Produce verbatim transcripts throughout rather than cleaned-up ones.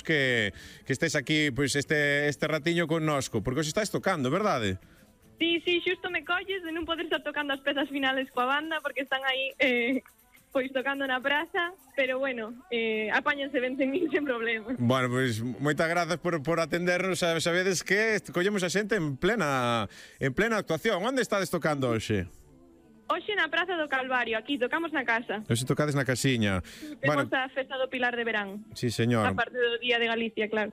que, que estés aquí pois este, este ratiño connosco, porque os estáis tocando, verdade? Sí, sí, xusto me colles de non poder estar tocando as pezas finales coa banda porque están aí eh, pois tocando na praza, pero bueno, eh, apáñanse ben sen min sen problema. Bueno, pois moitas grazas por, por atendernos. Sabedes que collemos a xente en plena en plena actuación. Onde estades tocando hoxe? Hoxe na Praza do Calvario, aquí tocamos na casa. Hoxe tocades na casiña. Temos bueno, a festa do Pilar de Verán. Sí, señor. A parte do Día de Galicia, claro.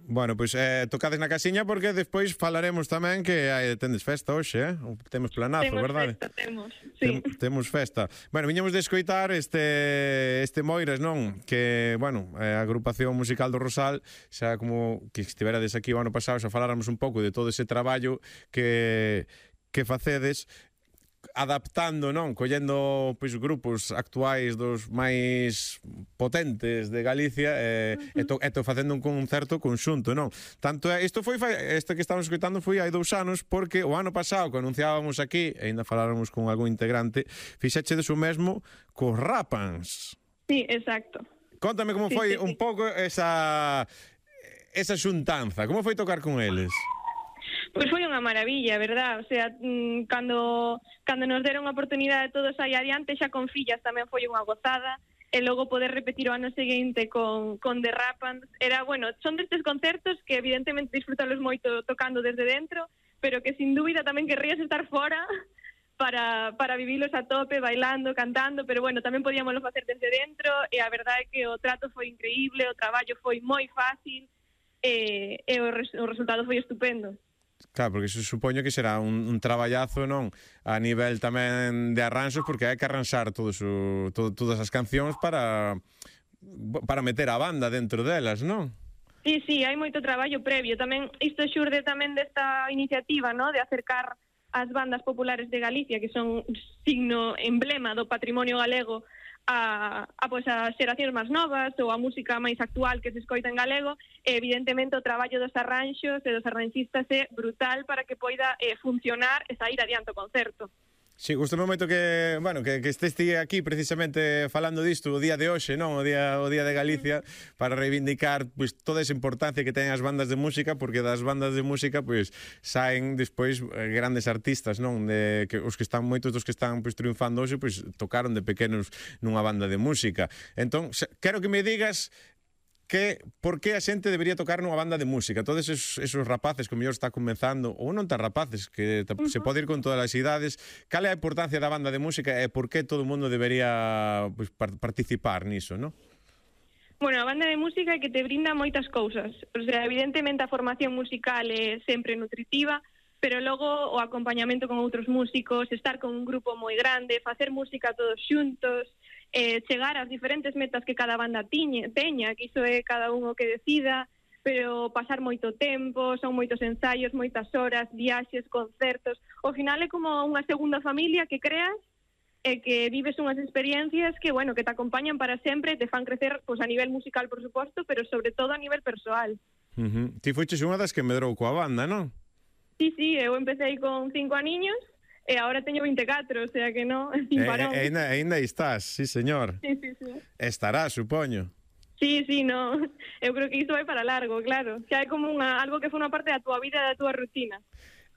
Bueno, pois pues, eh, tocades na casiña porque despois falaremos tamén que hai, tendes festa hoxe, eh? Temos planazo, temos verdade? Festa, temos, sí. Tem, temos festa. Bueno, viñemos de escoitar este este Moiras, non? Que, bueno, a agrupación musical do Rosal, xa como que estiverades aquí o ano pasado, xa faláramos un pouco de todo ese traballo que que facedes adaptando, non? Collendo pois grupos actuais dos máis potentes de Galicia e, uh-huh. e, to, e to facendo un concerto conxunto, non? Tanto isto foi este que estamos escoitando foi hai dous anos porque o ano pasado que anunciábamos aquí, e ainda faláramos con algún integrante, fixechedes o mesmo cos Rapans. Sí, exacto. Contame como foi sí, sí, un sí. pouco esa esa xuntanza, como foi tocar con eles? Pois foi unha maravilla, verdad? O sea, cando cando nos deron a oportunidade de todos aí adiante, xa con fillas tamén foi unha gozada, e logo poder repetir o ano seguinte con, con The Rapans, era, bueno, son destes concertos que evidentemente disfrutalos moito tocando desde dentro, pero que sin dúbida tamén querrías estar fora para, para vivilos a tope, bailando, cantando, pero bueno, tamén podíamoslo facer desde dentro, e a verdade é que o trato foi increíble, o traballo foi moi fácil, e, e o, res, o resultado foi estupendo. Claro, porque se supoño que será un, un traballazo, non? A nivel tamén de arranxos, porque hai que arranxar todos o, todo, todas as cancións para para meter a banda dentro delas, non? Sí, sí, hai moito traballo previo. Tamén isto xurde tamén desta iniciativa, ¿no? De acercar as bandas populares de Galicia, que son signo emblema do patrimonio galego, a, a, pois, a xeracións máis novas ou a música máis actual que se escoita en galego, e evidentemente o traballo dos arranxos e dos arranxistas é brutal para que poida eh, funcionar e sair adiante o concerto. Sí, gustame moito que, bueno, que, que estés aquí precisamente falando disto o día de hoxe, non? O día, o día de Galicia, para reivindicar pois, toda esa importancia que teñen as bandas de música, porque das bandas de música pois, saen despois grandes artistas, non? De, que os que están, moitos dos que están pois, triunfando hoxe, pois, tocaron de pequenos nunha banda de música. Entón, quero que me digas que por que a xente debería tocar nunha banda de música. Todos esos, esos rapaces que o mellor está comenzando, ou non tan rapaces, que uh-huh. se pode ir con todas as idades, cal é a importancia da banda de música e por que todo o mundo debería pues, participar niso, non? Bueno, a banda de música é que te brinda moitas cousas. O sea, evidentemente a formación musical é sempre nutritiva, pero logo o acompañamento con outros músicos, estar con un grupo moi grande, facer música todos xuntos, eh, chegar ás diferentes metas que cada banda tiñe, teña, que iso é cada un o que decida, pero pasar moito tempo, son moitos ensaios, moitas horas, viaxes, concertos. Ao final é como unha segunda familia que creas e que vives unhas experiencias que, bueno, que te acompañan para sempre e te fan crecer pues, a nivel musical, por suposto, pero sobre todo a nivel persoal. Uh-huh. Ti foiches unha das que medrou coa banda, non? Sí, sí, eu empecé con cinco aniños e agora teño veinticuatro, o sea que non, sin parón. E, e, ainda, ainda estás, sí, señor. Sí, sí, sí. Estará, supoño. Sí, sí, no. Eu creo que isto vai para largo, claro. Xa é como unha, algo que foi unha parte da túa vida e da túa rutina.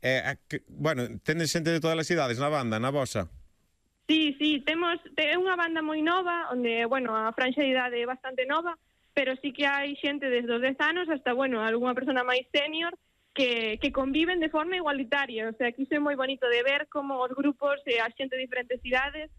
Eh, que, bueno, tendes xente de todas as idades na banda, na vosa? Sí, sí, temos é unha banda moi nova, onde, bueno, a franxa de idade é bastante nova, pero sí que hai xente desde os dez anos hasta, bueno, algunha persona máis senior, que, que conviven de forma igualitaria. O sea, que iso é moi bonito de ver como os grupos e a xente de diferentes idades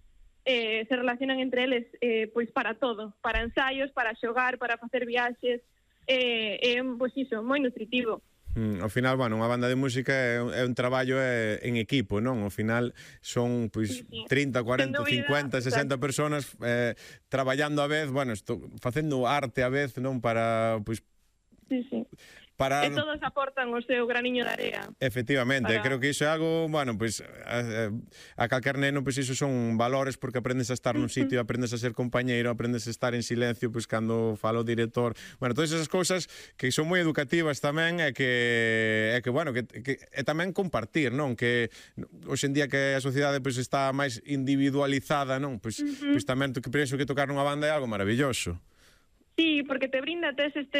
eh, se relacionan entre eles eh, pois para todo, para ensaios, para xogar, para facer viaxes, eh, é, pois iso, moi nutritivo. Mm, ao final, bueno, unha banda de música é, é un traballo é, en equipo, non? Ao final son pois sí, sí. trinta, cuarenta, cincuenta, sesenta personas eh, traballando a vez, bueno, esto, facendo arte a vez, non? Para, pois... Sí, sí. Para... E todos aportan o seu graniño de area. Efectivamente, para... creo que iso é algo, bueno, pois a, a calquer neno, pois iso son valores porque aprendes a estar nun sitio, aprendes a ser compañeiro, aprendes a estar en silencio, pois cando fala o director. Bueno, todas esas cousas que son moi educativas tamén e que é que bueno, que, que é tamén compartir, non? Que hoxe en día que a sociedade pois está máis individualizada, non? Pois, uh -huh. pois tamén que penso que tocar nunha banda é algo maravilloso. Sí, porque te brinda tes este